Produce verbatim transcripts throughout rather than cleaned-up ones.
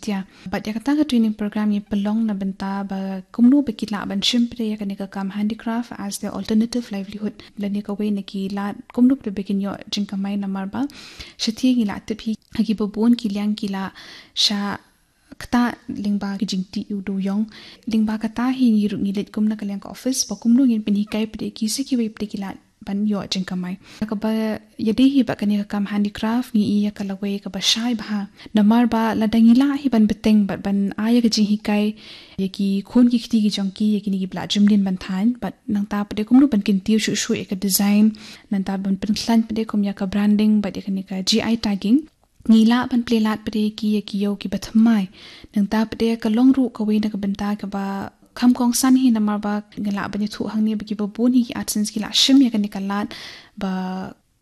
Tia, bad ïa kata ka training program ngi pynlong na bynta ba kumno ba ki lah ban shim pat ïa kane ka kam handicraft as their alternative livelihood, lane kawei na ki lad kumno pat ba kin ïoh jingkamai, namar ba shathie ngi la tip hi ha kiba bun ki liang ki la shah ktah lyngba ki jingtih ïa u dewïong. Lyngba kata hi ngi ruh ngi leit kumne ka liang ka office ba kumno ngin pynhikai pat ïa ki sa kiwei pat ki lad ban ïoh jingkamai. Kaba ïadei hi bad kane ka kam handicraft ngi i ïa ka lawei kaba shai bha. Namar ba lada ngi lah hi ban bteng bad ban ai ïa ka jinghikai ïa ki khun ki kti ki jong ki, ïa kine kiba la jumlin ban thaiñ, bad nangta pat kumno ban kyntiew shuh shuh ïa ka design, nangta ban pynkhlaiñ pat kum ïa ka branding bad ïa kane ka G I tagging. Ngi lah ban plie lad pat ïa ki ïa ki ïew kiba thymmai. Nangta pat ka long ruh kawei na ka bynta kaba kham kongsan hi, namar ba ngi lah ban ïathuh hangne ba kiba bun hi ki artisans ki la shim ïa kane ka lad ba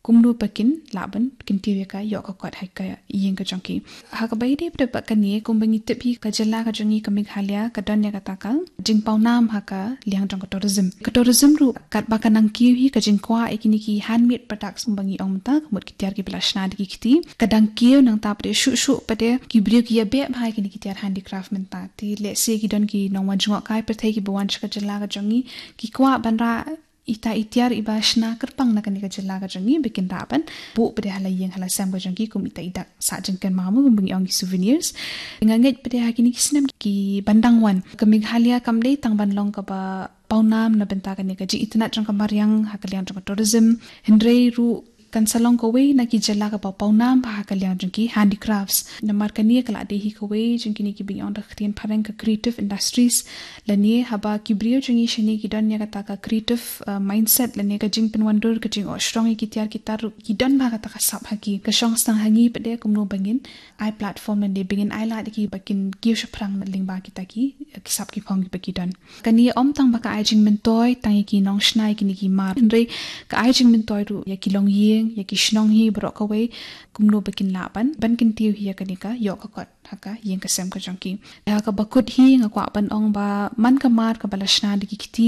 kumno ba kin lah ban kyntiew ïa ka ïoh ka kot ha ka ïing ka jong ki. Ha kaba ïadei pat bad kane, kumba ngi tip hi ka jylla ka jong ngi ka Meghalaya ka don ïa kata ka jingpawnam ha ka liang jong ka tourism. Ka tourism ruh katba ka nang kiew hi ka jingkwah ïa kine ki handmade products kumba ngi ong mynta, ka mut ki tiar kiba la shna da ki kti. Ka dang kiew, nangta pat shuh shuh pat ki briew ki ïa beh bha ïa kine ki tiar handicraft mynta. Te lehse ki don ki nongwan jngohkai pyrthei kiba wan sha ka jylla ka jong ngi, ki kwah ban rah ita i tiar iba shna kyrpang na kane ka jylla ka jong ngi ba kin rah ban buh pat ha la ïing ha la sem ka jong ki kum ita i dak sah jingkynmaw mo, kumba ngi ong ki souvenirs. Nga ngeit pat ha kine ki snem kiban dang wan, ka Meghalaya kam dei tang ban long kaba pawnam na bynta kane ka jingitynnad jong ka mariang ha ka liang jong ka tourism, hynrei ruh kan sa long kawei na ki jylla kaba pawnam bha ha ka liang jong ki handicrafts. Namar kane ka la dei hi kawei jong kine kiba ngi ong da ka ktien phareng ka creative industries. Lane haba ki briew jong ngi shane ki don ïa kata ka creative, uh, mindset, lane ka jingpynwandur, ka jingohshrong ïa ki tiar ki tar, ki don bha kata ka sap ha ki. Ka shong sdang ha ngi pat kumno ba ngin ai platform lane ba ngin ai lad ïa ki ba kin kiew shaphrang lyngba kita ki, uh, ki sap ki phong kiba ki don. Kane ym tang ba ka ai jingmyntoi tang ïa ki nongshna ïa kine ki mar, hynrei ka ai jingmyntoi ruh ïa ki longïing, ïa ki shnong hi baroh kawei, kumno ba kin lah ban, ban kyntiew hi ïa kane ka ïoh ka kot ha ka ïing ka sem ka jong ki. Ha kaba kut hi nga kwah ban ong ba man ka mar kaba la shna da ki kti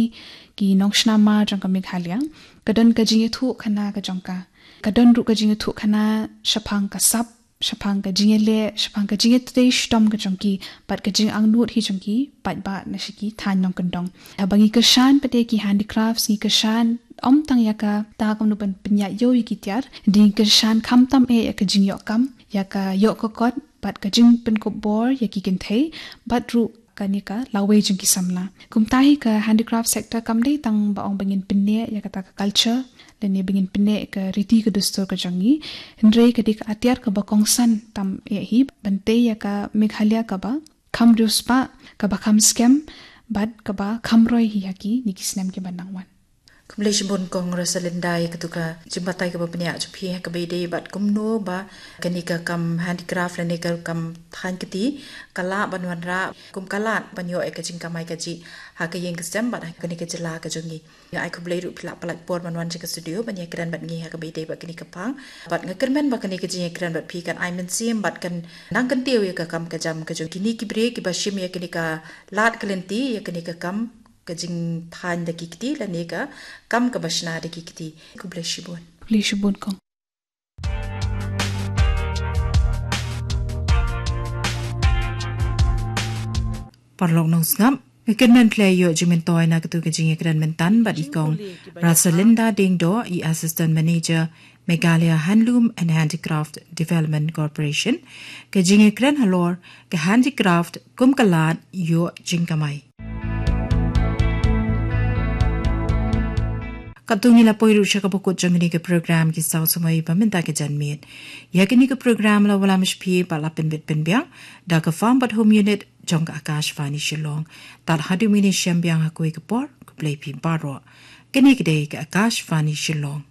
ki nongshna mar jong ka Meghalaya, ka don ka jingïathuhkhana ka jong ka. Ka don ruh ka jingïathuhkhana shaphang ka sap, shaphang ka jingïaleh, shaphang ka jingïatrei shitom ka jong ki, bad ka jingangnud hi jong ki paidbah na sha ki thaiñ nongkyndong. Haba ngi kyrshan pat ïa ki handicrafts, ngi kyrshan ym tang ïa kata kumno ban pynïaid ïew ïa ki tiar, hynrei ngi kyrshan khamtam eh ïa ka jingïoh kam, ïa ka ïoh ka kot, bad ka jingpynkup bor ïa ki kynthei, bad ruh kane ka lawei jong ki samla. Kumta hi ka handicraft sector kam dei tang ba ong ba ngin pynneh ïa kata ka culture, lane ba ngin pynneh ka riti ka dustur ka jong ngi. Hynrei ka dei ka atiar kaba kongsan tam eh hi ban tei ïa ka Meghalaya kaba kham riewspah, kaba kham skhem, bad kaba kham roi hi ha kine ki snem kiban nang wan. Khublei shibun Kong Rosalinda ïa katu ka jingbatai kaba bniah jong phi ha kaba ïadei bad kumno ba kane ka kam handicraft lane ka kam thaiñ kti ka lah ban wanrah kum ka lad ban ïoh ïa ka jingkamai kajih ha ka ïing ka sem bad ha kane ka jylla ka jong ngi. Nga ai khublei ruh phi la pynlait por ban wan sha ka studio ban ïakren bad ngi ha kaba ïadei bad kane ka phang. Bad nga kyrmen ba kane ka jingïakren bad phi kan ai mynsiem bad kan nang kyntiew ïa ka kam ka jam ka jong kine ki briew kiba shim ïa kane ka lad ka lynti ïa kane ka kam ka jingthaiñ da ki kti lane ka kam kaba shna da ki kti. Khublei shibun. Khublei shibun Kong. Paralok nongsngap, nga kyrmen phi la ïoh jingmyntoi na katu ka jingïakren mynta bad i Kong Rosalinda Diengdoh, i Assistant Manager, Meghalaya Handloom and Handicraft Development Corporation, ka jingïakren halor ka handicraft kum ka lad ïoh jingkamai. Katto ngi la poi ruh sha kaba kut jong kane ka program Ki Saw Samoi ba mynta ka janmiet. Ïa kane ka program la wallam sha phi bad la pynbit pynbiang da ka Farm bad Home Unit jong ka Akashvani Shillong. Tad haduh ngin ïashem biang ha kawei ka por, khublei phi baroh. Kane ka dei ka Akashvani Shillong.